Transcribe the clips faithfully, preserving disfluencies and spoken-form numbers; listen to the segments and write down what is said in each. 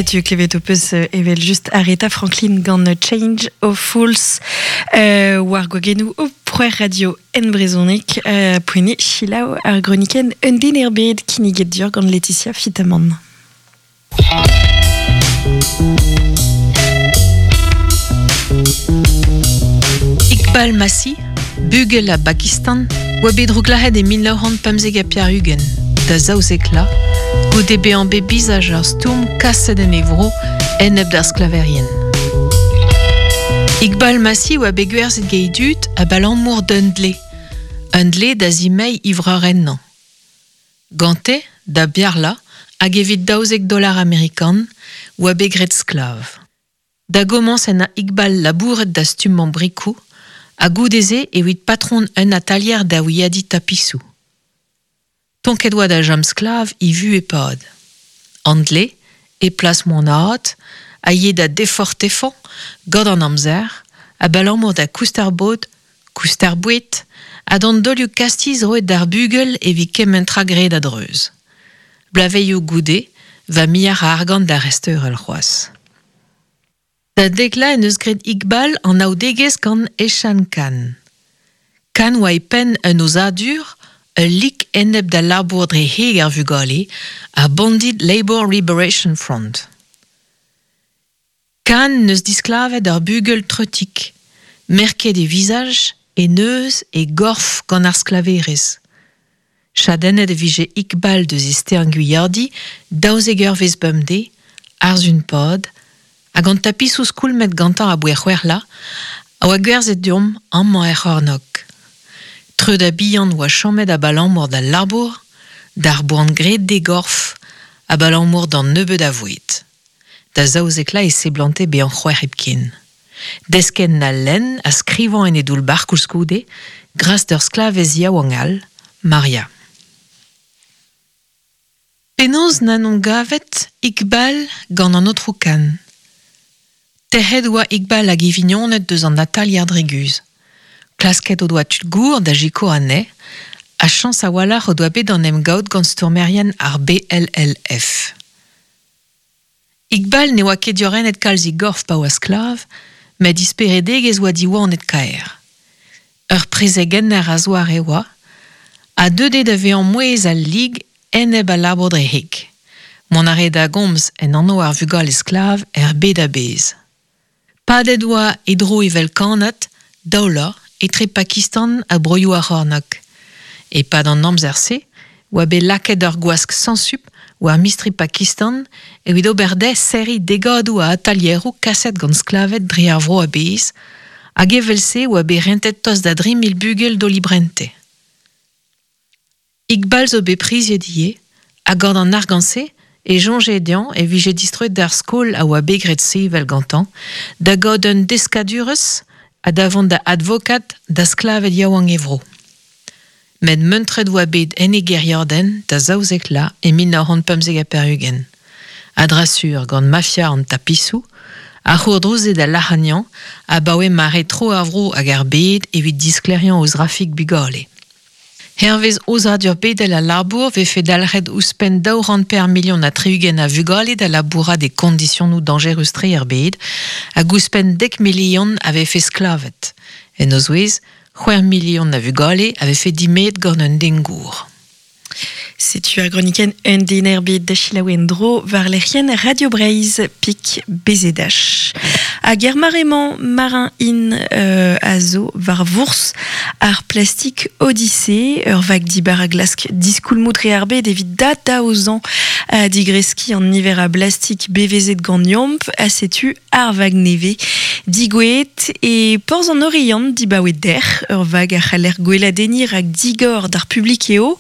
Setu klevet ho peus evel just Aretha Franklin gant Change of Fools euh, war gwagennoù o preur radio en brezhoneg euh, poene chilaou ar groniken un den er bed kinniget dur gant Laetitia Fitamant. Iqbal Masih, bugel a Pakistan, oa bet drouglahet e mil nav c'hant pemzek ha pevar-ugent, da zaouzek la, goude bezañ bet bizaj ar stourm kaset en e vro enep d'ar sklaverien. Iqbal Masih oa bet gwerzhet gant e dud abalamour d'un dle, un dle da zimeiñ ivreur ennañ. Gante, da biarla, hag evit daouzek dollar amerikan, oa bet graet sklav. Da gomañs en a Iqbal labouret da stummañ brikoù, ha goude-se evit patron un atalier da wiadiñ tapisoù. Tonket oa da jom sklav e vu e pad. An dle, e plas moanaat, a ye da defortefañ gant an amzer, abalamour da koust ar bod, koust ar boued, ha d'an dolioù kastiz roet d'ar bugel evit kement tra graet a-dreuz. Blaveioù goude, va miar a argant da resteurel c'hoazh. Da dekla en eus graet Iqbal an aodegezh gant Eshan Khan. Khan oa e penn un ozadur, ul lik enep da labour dre heg ar vugale, ar Bonded Labour Liberation Front. Khan neus disklavet ar bugel treutik, merket e vizaj, e neuz e gorf gant ar sklaverez. Chadennet e vije Iqbal deus e stern gwiardi, daouzek eurvezh bemdez, arzun pod, hag an tapisoù skoulmet gantañ a bouez c'hwec'h la, a oa gwerzhet deomp amañ er c'hornôg. Treud a bihan oa chomet abalamour d'al labour, d'ar boan graet d'e gorf, abalamour d'an nebeud a voued. Da zaouzek la e seblante bezañ c'hwec'h hepken. Desken na lenn a skrivañ en e doull-bac'h koulskoude, gras d'ur sklavez yaouank all, Maria. Penaos n'an gavet Iqbal gant an aotrou Khan. Tec'het oa Iqbal hag e vignoned deus an atalier dre guzh. Klasket o doa tud gour da jiko anezhe, ha chañs a-walc'h o doa bet an emgaout gant stourmerien ar B L L F. Iqbal ne oa ket diorrenet kalz e gorf pa oa sklav, met disperedegezh oa diwanet kaer. Ur prezegenner a zoare oa, ha deuet da vezañ mouezh al lig enep al labour dre heg. Mont a rae da gomz en anv ar vugale sklav er bed a-bezh. Padet oa e dro evel kannad, daou etre Pakistan ha broioù ar c'hornôg. E-pad an amzer-se, oa bet lakaet ur gwask sansup war mistri Pakistan evit ober dezhe serriñ degadoù a atalieroù kaset gant sklaved dre ar vro a-bezh, hag evel-se oa bet rentet tost da dri mil bugel d'o librente. Iqbal zo bet priziet ivez, ha gant an argant-se e soñje dezhañ e vije distroet d'ar skol a oa bet graet sevel gantañ, da gaout un deskadurezh ha da vont da advokad da sklaved yaouank e vro. Met muntret oa bet en e gêriadenn da zaouzek la e mil nav c'hant pemzek ha pevar-ugent. A-dra-sur gant mafia an tapisoù, ar c'hourdrouzed da lac'hagnañ abaoe mare tro ar vro hag ar bed evit disklêriañ o zrafik bugale. Hervez ozadur bedel al labour vefe dalc'het ouzhpenn daou c'hant per milion ha tri-ugent a vugale da labourat e kondisionoù dañjerus-tre er bed, hag ouzhpenn dek milion a vefe sklavet. En o zouez, c'hwec'h milion a vugale a vefe dimet gant un den gour. Setu ar gronikenn un den er bed da selaou en-dro war lec'hienn Radio Breizh pik B Z H. Hag er mare-mañ marin in euh, a zo war vourzh ar Plastic Odyssey, ur vag dibar a glask diskoulmoù dre ar bed evit da daozañ a digreskiñ an niver a blastik bevezet gant yomp, a setu ar vag neve digouet e porzh an Oriant dibaoe der, ur vag a c'haller gweladenniñ rak digor d'ar publik eo,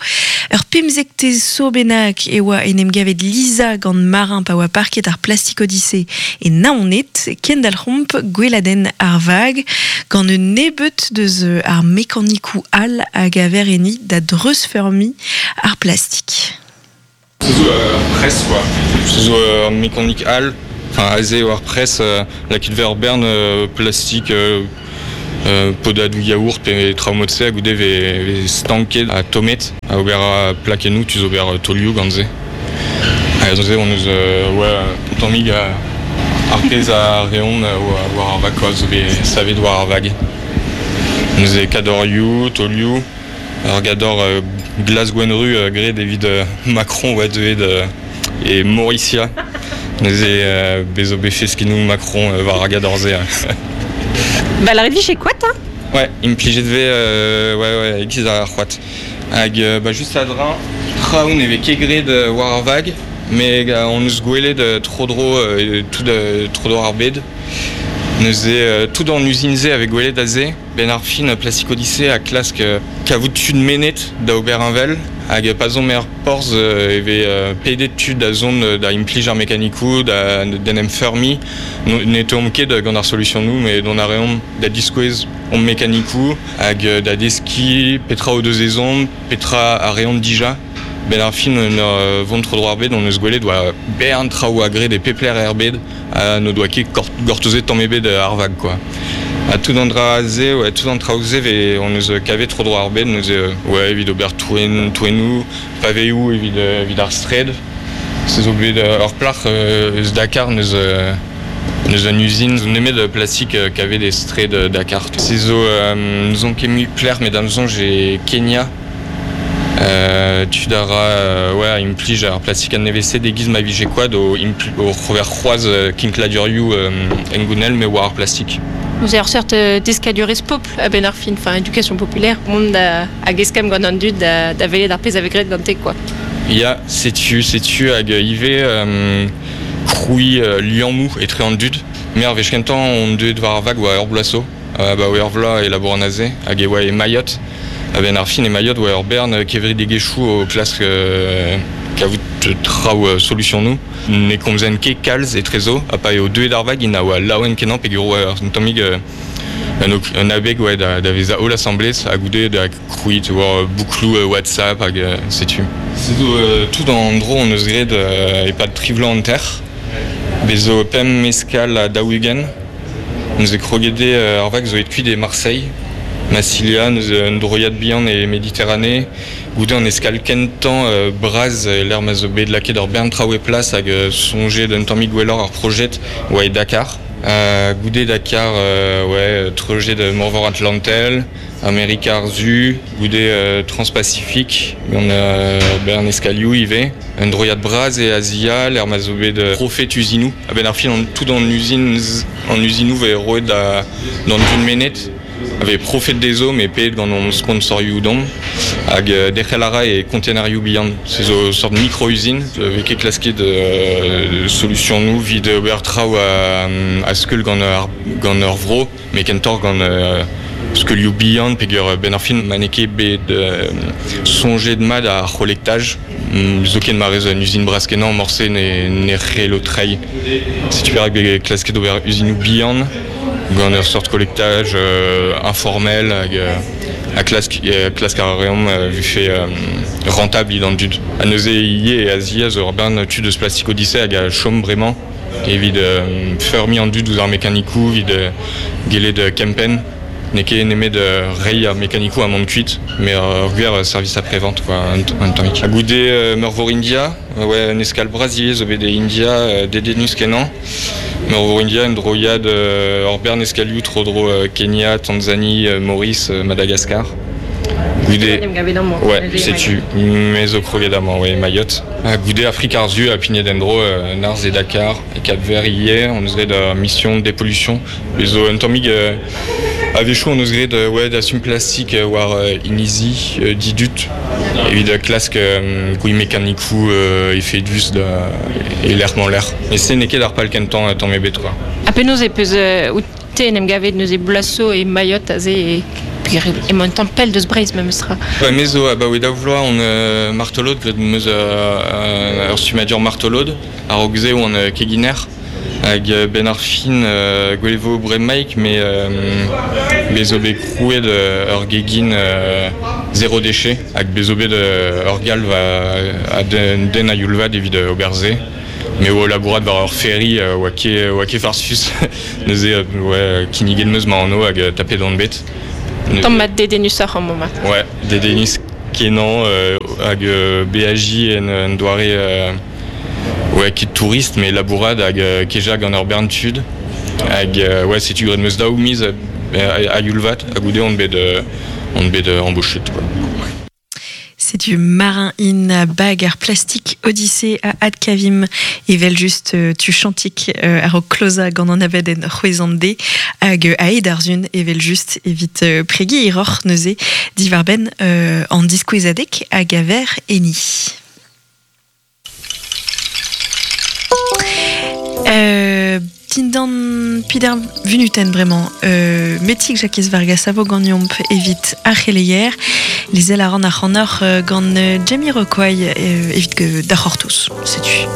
ur pemzektez so bennak e oa en em gavet Lisa gant marin pa oa parket ar Plastic Odyssey e Naoned, kendalc'homp gweladenn ar vag gant un nebeut deus ar mekanikou all hag a ver enni da dreuzfeurmiñ ar plastik. Se zo ur press quoi. Se zo ur mekanik all, enfin aze eo ar press euh, lakaet ver ur bern euh, plastik euh, euh, podadoù yaourt pe traoù mod-se hag goude ve, ve stanket ha tommet a ober a plakennoù tu zo ober tolioù gant se. Ha neuze on eus euh, ouais, un tammig euh, ar pezh a reont euh, war ar vag quoi, zo bet savet war ar vag. Neuze kadorioù, tolioù, ar gador euh, glas gwenru euh, graet evit euh, Macron oa deuet euh, e Mauricia. Neuze euh, bezo bet feskenoù Macron euh, war ar gador-se. Ba la redvi chez quoi, hein? Ouais, implijet ve euh, ouais ouais egiz ar c'hoat. Hag euh, ba just a-dreñv, traoù ne vez ket graet euh, war ar vag, mais euh, on eus gwelet euh, tro-dro euh, tout euh, tro-dro ar bed. Neuze euh, tout an uzin-se avec gwelet aze, ben ar fin Plastic Odyssey a klask euh, kavout tud menet da ober un vel, hag pa zon mer porzh euh, e vez euh, pedet tud da zon euh, da implij ar mekanikou, da d'en em feurmi, no, ne teomp ket gant ar solution nou, mais don a reomp da diskouez om mekanikou, hag euh, da deski petra o deus ezhomm, petra a reont dija. Ben ar fin en ur vont tro dro ar bed, on eus gwelet oa bern traoù a graet e pepler er bed, ha no doa ket gortozet tamm ebet ar vag quoi. Ha tout an dra se, ouais, tout an traoù se ve on eus kavet tro dro ar bed, neuze ouais, evit ober toen, toennoù, paveoù evit, evit ar straed. Se zo bet ur plac'h eus Dakar neus neus un usine zo nemet de plastik kavet e straed Dakar. Se zo euh, nous on ket mui plec'h, met da'm soñj e Kenya. Euh, tud a ra euh, ouais, implij ar plastik an nevez-se degiz ma vije koad o, impl- o c'hover c'hoaz euh, kinkladurioù euh, engounel me war ar plastik. Vous avez seurt euh, deskadurezh popl a ben ar fin, enfin éducation populaire, mont da hag eskemm gant an dud da, da welet ar pezh a vez graet gante quoi. Ya, setu, setu hag ivez euh, krouiñ euh, liammoù etre an dud. Me ar wech kentañ on deuet war ar vag oa ur bloaz zo, euh, ba oa ur vloaz e labour an aze, hag e oa e Mayotte. A ben ar fin e Mayotte oa ur bern kevredigezhioù o klask euh, kavout traoù euh, solution nou. Ne komzen ket kalz etrezo, ha pa eo deuet ar vag int a oa laouen kenañ peogwir oa un tammig euh, un, un abeg ouais, da, da vezañ holl asambles ha goude da krouiñ tu vois, bouklou euh, WhatsApp hag euh, setu. Se zo euh, tout an dro on eus graet euh, e-pad tri vloaz hanter. Bez zo pemp eskal ha daou-ugent. Neuze kroget eo euh, ar vag zo aet kuit e Marseille. Massilia, neus un droiad bihan e Méditerranée, goude an eskal kentañ euh, braz e l'er ma zo bet lakaet ur bern traoù e plas hag euh, soñjet d'un tammig gwelloc'h ar projet oa e Dakar. Euh, goude Dakar, euh, ouais, treujet de Morvor Atlantel, Amerika ar Su, goude euh, Transpacifique, gant euh, bern eskalioù ivez. Un droiad braz e Azia, l'er ma zo bet euh, profet usinoù. A ben ar fin an tout an usine an usinoù vez roet da d'an dud menet, avait profet dezho mais paet gant on sponsorioù domp hag euh, derc'hel a ra e kontenerioù bihan. Se zo sort micro-usine, vez ket klasket euh, solution nou vid ober traoù a, a skeul gant ar, gant ur vro, met kentoc'h gant euh, skeulioù bihan peogwir ben ar fin ma n'eo ket bet euh, soñjet mat ar c'holektaj. Mm, zoken ma rez un usine bras kenañ morse ne, ne c'hello treiñ. Setu perak bet klasket ober usinoù bihan gant ur sort collectage euh, informel hag euh, a klask, euh, klask ar reomp euh, vu fait euh, rentable id an dud. Ha neuze ivez e Azia zo ur bern tud eus Plastic Odyssey hag a chom bremañ evit euh, feurmiñ an dud ouzh ar mekanikoù, evit euh, gellet euh, kempenn. N'eo ket nemet euh, reiñ ar mekanikoù a mont kuit, mais ur gwir euh, service après-vente quoi, un, un tammig. Ha goude euh, Meurvor India, euh, ouais, un eskal bras ivez zo bet e India euh, dedennus kenañ. Meurvor India, un droiad euh, ur bern eskalioù tro-dro euh, Kenya, Tanzanie, euh, Maurice, euh, Madagascar. Goude, ouais, setu, me zo kroget amañ, ouais, Mayotte. Ha goude Afrika ar Su ha pignet en-dro euh, Narzh e Dakar, e Cap-Vert ivez, on eus graet ur mission de dépollution. Bez zo un tammig euh, a-wechoù on eus graet euh, ouais, dastum plastik euh, war euh, inizi, euh, didud, evit euh, klask euh, gouiñ mekanikoù euh, efedus da e lec'h-mañ lec'h. E se n'eo ket ar pal kentañ euh, tamm ebet quoi. Ha penaos e peus euh, out te en em gavet neuze bloaz zo e Mayotte aze e peogwir emañ un tamm pell deus Breizh memestra. Ba me zo abaoe daou vloaz on euh, martolod, graet 'm eus euh, ur stummadur martolod, a-raok se oan euh, keginer, hag euh, ben ar fin euh, gwelet vo bremaik, mais euh, bez zo bet krouet euh, ur gegin euh, zéro déchet, hag bez zo bet euh, ur galv a, a den, den a youl vat evit euh, ober se. Me oa labourat war ur ferry euh, oa ket, oa ket farsus, neuze euh, ouais, kinniget 'm eus ma anv hag euh, tapet on bet. Neuze- Tamm mat dedennusoc'h an moment. Ouais, dedennus kenañ euh, hag euh, B A J en, en doare euh, Ouais, ket tourist, met labourad hag euh, keja gant ur bern tud. Hag, euh, ouais, setu graet meus daou miz a, a, a youl-vat, ha goude on bet, euh, on bet euh, embauchet, quoi. Setu Marin in a bag ar plastik Odyssée a adkavim evel just euh, tu chantik euh, ar o kloza gant an abadenn c'hwezan de hag euh, aet ar zun evel just evit euh, pregi iroc'h neuze diwarbenn euh, an diskouezadeg hag aver eni. Euh, dindan pider vunuten bremañ euh, metik Jakez Vargas a vo ganeomp evit ar c'heleier lezel a ran ar c'hanoc'h euh, gant euh, Jamiroquai euh, evit d'ar c'hortoz, setu.